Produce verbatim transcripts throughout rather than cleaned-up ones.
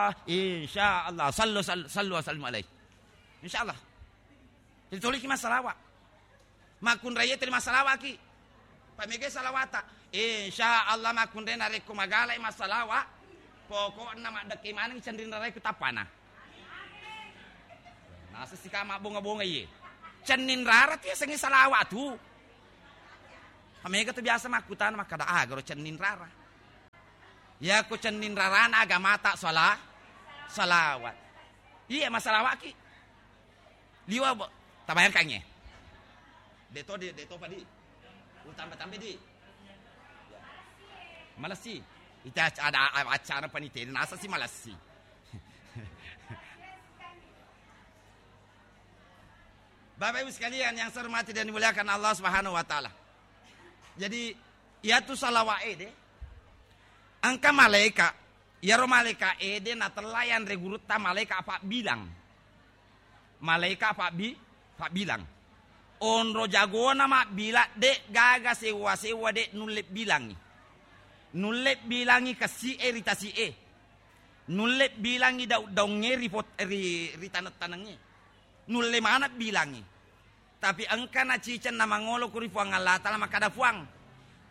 Ah, insya Allah, sallu, sallu, sallu wa sallimu alaihi. Insya Allah. Jadi toliki massalawa. Makkunraiye tuli massalawaki. Pamega salawata. Insya Allah makkunrai narekko magalai massalawa, pokokna maddekke maneng cenning rarae ku tappana. Nasessika mabbonga-bonga iye. Cenning rara tu yasengnge salawat tu. Pamega tu biasa makkutana makkada, "Ah, garo cenning rara." Yako cenning rarana agamata sala-, salawat. Iya, massalawaki. Liwa, bo-, tabayangkangnge. Deto, de-, deto padi. Utamba-tambe di. Malessi. Ita ac-, ada a-, acara panitia, nasa si malessi. Bapak Ibu sekalian yang saya hormati dan dimuliakan Allah Subhanahu wa Ta'ala. Jadi, iyatu salawat ede, engka malaika, iyaro malaika ede natella yanre gurutta malaika pabbilang. Malaika pabbi-, pabbilang. Onro jagona mabbilang, de gaga sewa-sewa, de nulle bilangi. Nulle bilangi kessi'e ri tasi'e. Nulle bilangi daung-daungnge ri pot-, ri, ri taneng-tanengnge. Nulle maneng bilangi. Tapi engka naciceng namangolo ku ri Puang Allah Ta'ala makkada, "Puang,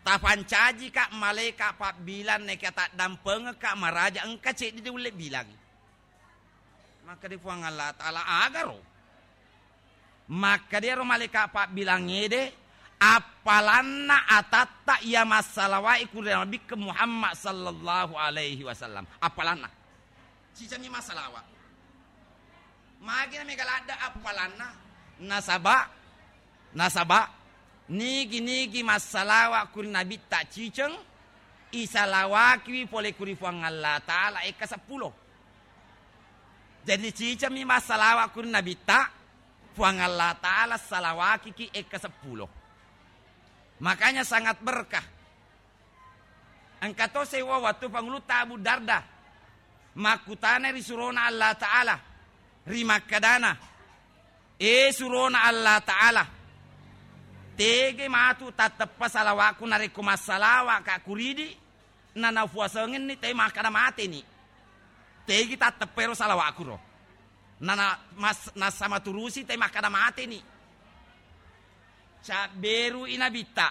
tapancajika malaika pabbilang neka taddampengekka maraja engka ceddi de ulle bilangi." Makkada Puang Allah Ta'ala, "Agaro?" Makkada ero malaika pabbilang ede, "Appalanna atatta iya massalawai ku ri Nabikke Muhammad sallallahu alaihi wasallam." Appalanna. Cicengmi massalawa. Magi na mega ladde appalanna? Nasaba, nasaba, nigi-nigi massalawa ku ri Nabitta ciceng, isalawakiwi pole ku ri Puang Allah Ta'ala ekka seppulo. Jadi cicengmi massalawa ku ri Nabitta, Puang Allah Ta'ala salawakiki ekka seppulo. Makanya sangat berkah. Engka to sewwa wettu Pangulutta Abu Darda makkutana ri surona Allah Ta'ala, ri makkadana, "E surona Allah Ta'ala, tege matu tatteppa salawakku narekko massalawaka kuridi, nanafuasengenni te makkada mateni. Tegi tatteppa ero salawakku ro. Nana mas-, nassa maturusi te makkada mateni." Cabberu i Nabitta.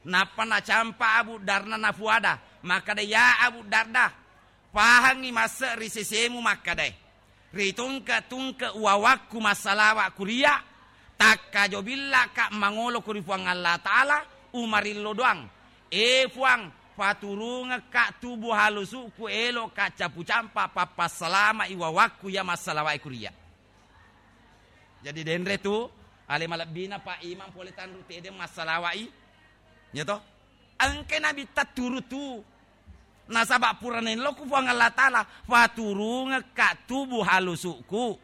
Nappa nacampa Abu Darda nafuada, makkada, "Ya Abu Darda, pahangngi masse ri sesemu makkadae, ritungke-tungke wawakku massalawa kuria, takkajo billaka mangolo ku ri Puang Allah Ta'ala, umarillo doang. E Puang, paturungekka tubu halusuku, eloka capu campa pappassalama'i wawakku iya massalawae kuria." Jadi denre tu ale malebbina Pak Imam pole tanru tede massalawa'i. Ya to? Engke Nabitta turu tu. Nasaba pura nello ku Puang Allah Ta'ala, "Faturungekka tubu halusuku."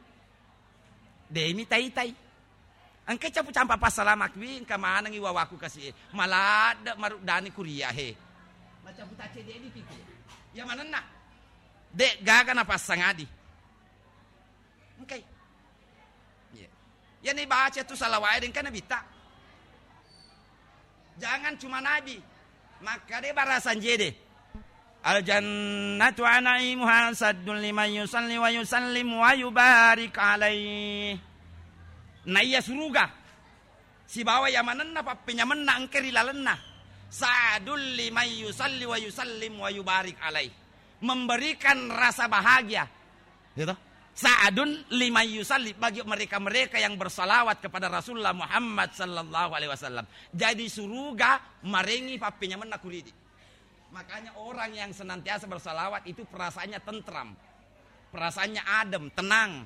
Demi tai-tai. Engke capu campa passalamakiwi, engka manengi wawaku kasi e. Maladde maruddani kuria he. Macapu tacce de dipikir. Ya manenna. De gaga napassangadi. Engkai. Iya. Iyani baca tu salawat e, de engka Nabitta. Jangan cuma Nabi. Makkada barasan jede. Al jannatu wa na'imuha saddun liman yusalli wa yusallim wa yubarik alaih. Naiya suruga sibawa yamanenna pappenyamenna engka ri lalenna. Sa'dul liman yusalli wa yusallim wa yubarik alaih. Memberikan rasa bahagia. Gitu. Sa'dun liman yusalli, bagi mereka-mereka yang bersalawat kepada Rasulullah Muhammad sallallahu alaihi wasallam. Jadi suruga marengi pappenyamenna kuridi. Makanya orang yang senantiasa bersalawat itu perasaannya tentram. Perasaannya adem, tenang.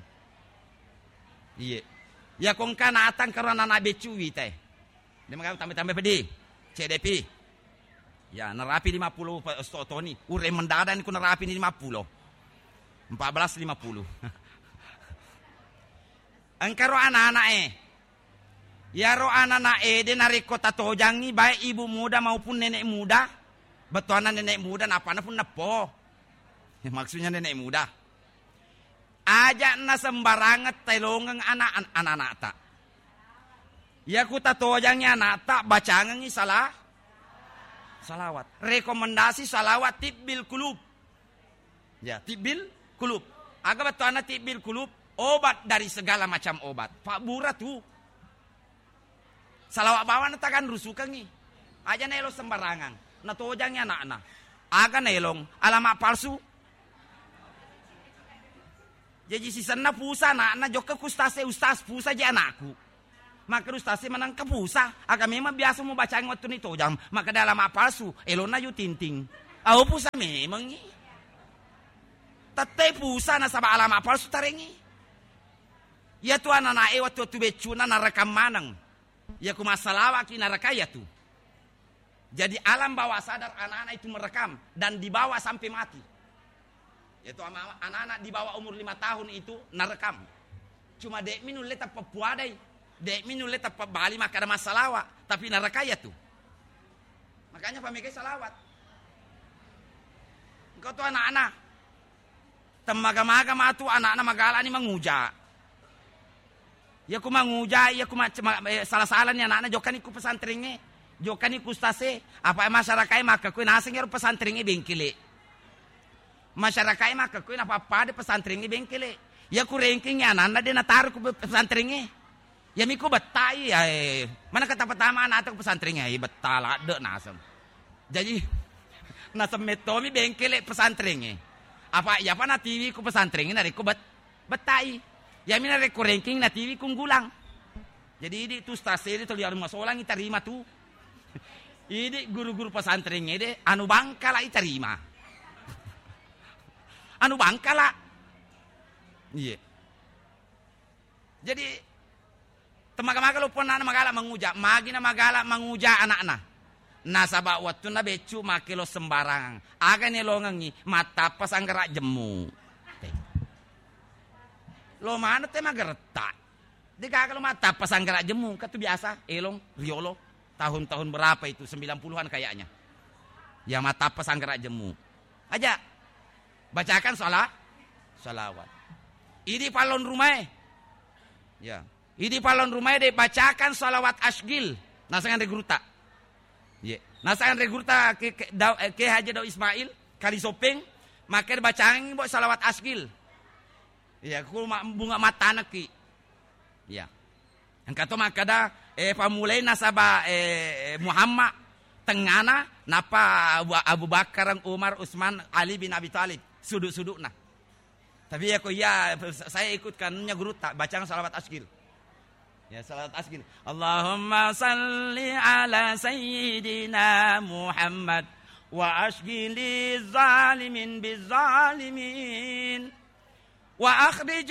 Iya. Ya kongka natang karo anak-anak becu witae. De maga tambe-tambe pedi. Cedepi. Ya, narapi lima puluh pe-, sto toni. Ure mendada ni ku narapi ni lima puluh. Empat belas lima puluh. Engka ro anak-anak e. Yaro anak-anak e de narekko tatojangi baik ibu muda maupun nenek muda. Bettuanna nenek muda napana pun neppo. Maksudnya nenek muda. Aja na sembarangeng telongeng anak, an-, anak-anakta. Yaku tatojangi anakta, bacangengi sala-, salawat. Rekomendasi salawat tibbil kulub. Ya, tibbil Kulub. Aga bettuanna tibbil kulub? Obat dari segala macam obat. Pabbura tu. Salawat bawang tagan rusukengngi. Aja naelo sembarangan. Natojangngi anakna. Aga naelong? Alamat palsu. Jaji sisenna pusa anakna, jokka ku ustaz e, "Ustaz, pusa je anakku." Makkeda ustaz e, "Manengka pusa, aga memang biasa mubacangi wettunna itojang." Makkeda, "Alamat palsu, elonna ju tinting." Au pusa memengngi. Tette pusa nasaba alamat palsu tarengngi. Iyatu anana e wettu-wettu beccuna narekang maneng. Iya ku massalawaki narekai iyatu. Jadi alam bawah sadar anak-anak itu merekam dan dibawa sampai mati. Yaitu ama-, anak-anak di bawah umur lima tahun itu narekam. Cuma de'mi nulle tappappuadai, de'mi nulle tappabali makkada massalawa, tapi narekai iyatu. Makanya pamegai salawat. Engkau tu anak-anak, temmaga-maga matu anakna magalani manguja. Iya ku manguja, iya ku ma-, ma-, eh, sala-salani anakna, jokkani ku pesantrengnge, jokkani ku ustaz e, apa masyarakat e makkekkuwe naseng ero pesantrengnge bengkele. Masyarakat e makkekkuwe napappada pesantrengnge bengkele. Iya ku ranking anakna de nataro ku pe-, pesantrengnge. Iya mi ku bettai, eh, mana kata pertama anak ku pesantrengnge, eh, betta ladde naseng. Jadi, naseng mettomi bengkele pesantrengnge. Apa iya pa natiwi ku pesantrengnge narekko bet-, bettai. Iyami narekko ranking natiwi ku Unggulang. Jadi, idi tu ustaz e de tuli arung masolang itarima tu. Idi guru-guru pesantrengnge de anu Bangkala itarima. Anu Bangkala. Iya. Jadi, temmaga-maga loppo anakna magala manguja, magina magala manguja anakna. Nasaba wettunna beccu makkelo sembarangan. Aga nelongengngi, mattappa sanggara jemmu. Te. Lo maneng te mageretta. De gaga lo mattappa sanggara jemmu, engka tu biasa elong riolo. Tahun-tahun berapa itu? Sembilan puluhan kayaknya. Ya mattappa sanggara jemmu. Aja. Bacakan sala-, salawat. Idi pallon rumae. Ya. Idi pallon rumae de bacakan salawat asgil. Naseng anre gurutta. Ye. Naseng anre gurutta ke, ke, Dau-, eh, Ke Haji Daud Ismail, Kali Sopeng, makkeda bacangi bo salawat asgil. Iya, ku ma-, bunga matanekki. Iya. Engka to makkeda, eh, pammulai nasaba, eh, Muhammad tengngana, nappa Abu, Abu Bakar, Umar, Utsman, Ali bin Abi Thalib, sudu-sudukna. Tapi ya ko iya, saya ikutkan nya gurutta, bacang salawat asgil. Ya, salawat asgil. Allahumma salli ala sayyidina Muhammad wa asgili zalimin bizalimin. Wa akhrij